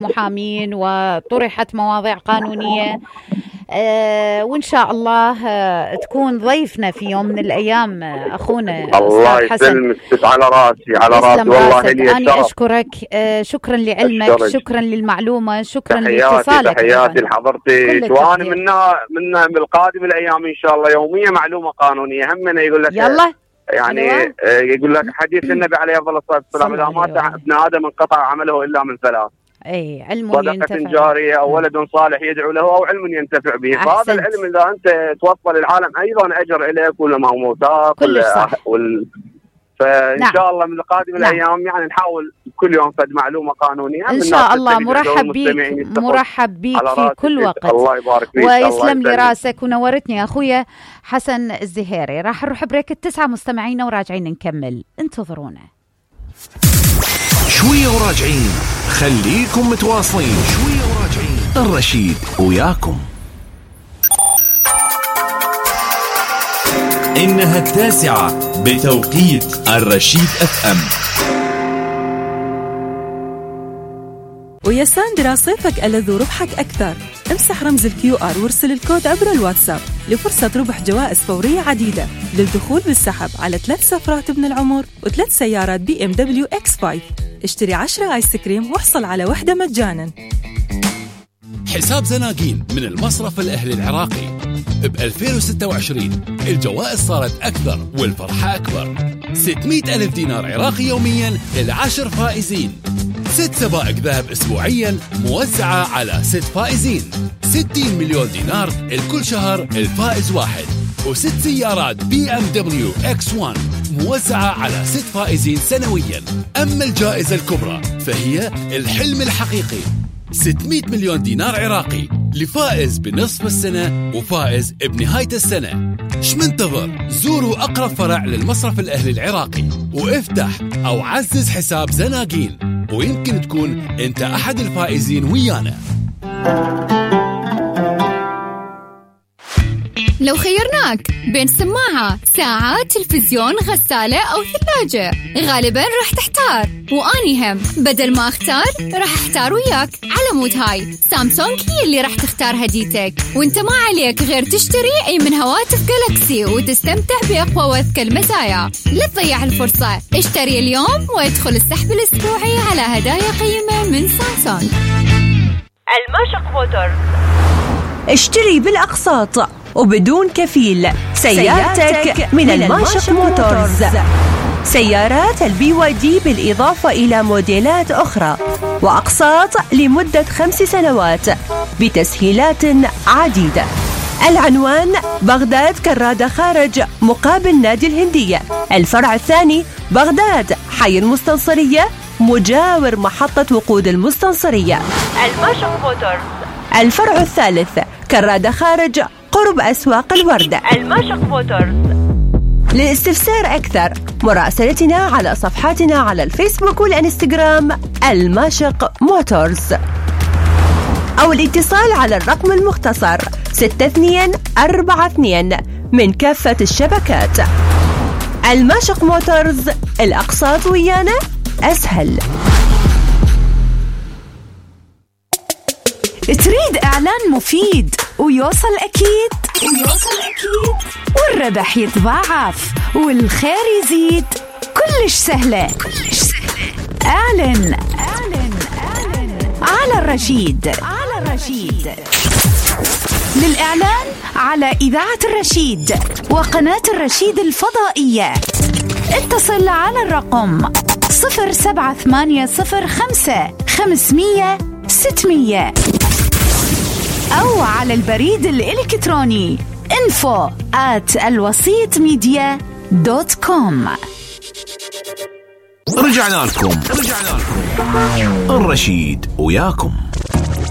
محامين وطرحت مواضيع قانونية. وإن شاء الله تكون ضيفنا في يوم من الأيام أخونا الله يسلمك. على راسي والله لي أنا أشكرك. شكرا لعلمك، شكرا للمعلومة، شكرا لاتصالك. تحياتي لحضرتك، وأنا من بالقادم الأيام إن شاء الله يومية معلومة قانونية. همنا يقول لك يلا يعني يقول لك حديث النبي عليه الصلاة والسلام إذا مات ابن آدم انقطع عمله إلا من ثلاث: علم صدقة جارية أو ولد صالح يدعو له أو علم ينتفع به. فهذا العلم إذا أنت توصل العالم أيضا أجر إليك ولا ما هو موتاك فإن شاء الله من القادم الأيام يعني نحاول كل يوم فد معلومة قانونية إن شاء الله. مرحب بيك في كل وقت. الله يبارك فيك ويسلم لي راسك ونورتني يا أخويا حسن الزهيري. راح نروح بريك 9 مستمعين وراجعين نكمل، انتظرونا شوية وراجعين. خليكم متواصلين، شوية وراجعين. الرشيد وياكم. إنها 9 بتوقيت الرشيد FM. ويا ساندرا صيفك ألذ وربحك أكثر. امسح رمز الQR وارسل الكود عبر الواتساب لفرصة ربح جوائز فورية عديدة للدخول بالسحب على 3 سفرات ابن العمر و3 سيارات BMW X5. اشتري 10 آيس كريم واحصل على واحدة مجانا. حساب زناقين من المصرف الأهلي العراقي. ب 2026 الجوائز صارت أكثر والفرحة أكبر. 600,000 دينار عراقي يوميا لل10 فائزين. 6 سبائك ذهب أسبوعيا موزعة على 6 فائزين. 60 مليون دينار الكل شهر الفائز واحد. و6 سيارات BMW X1 موزعة على 6 فائزين سنويا. أما الجائزة الكبرى فهي الحلم الحقيقي، 600 مليون دينار عراقي لفائز بنصف السنة وفائز بنهاية السنة. شمنتظر؟ زوروا أقرب فرع للمصرف الأهلي العراقي وافتح أو عزز حساب زناقين، ويمكن تكون أنت أحد الفائزين ويانا. لو خيرناك بين سماعة، ساعة، تلفزيون، غسالة أو ثلاجة، غالباً راح تحتار. وأني هم بدل ما أختار راح أحتار وياك. على مود هاي سامسونج هي اللي راح تختار هديتك، وانت ما عليك غير تشتري أي من هواتف جالاكسي وتستمتع بأقوى وأذكى المزايا. لا تضيع الفرصة، اشتري اليوم وادخل السحب الأسبوعي على هدايا قيمة من سامسونج. الماشق موتورز. اشتري بالأقساط وبدون كفيل سيارتك من الماشق موتورز. سيارات الBYD بالإضافة إلى موديلات أخرى وأقساط لمدة 5 سنوات بتسهيلات عديدة. العنوان: بغداد كرادة خارج مقابل نادي الهندية. الفرع الثاني بغداد حي المستنصرية مجاور محطة وقود المستنصرية. الماشق موتورز. الفرع الثالث كرادة خارج قرب أسواق الوردة. الماشق موتورز. للاستفسار أكثر مراسلتنا على صفحاتنا على الفيسبوك والإنستغرام الماشق موتورز، أو الاتصال على الرقم المختصر 6242 من كافة الشبكات. الماشق موتورز، الأقساط ويانا أسهل. تريد إعلان مفيد ويوصل أكيد والربح يتضاعف والخير يزيد؟ كلش سهلة. اعلن على الرشيد. للإعلان على إذاعة الرشيد وقناة الرشيد الفضائية اتصل على الرقم 07805 500 600 أو على البريد الإلكتروني info@alwasitmedia.com. رجعنا لكم. الرشيد وياكم.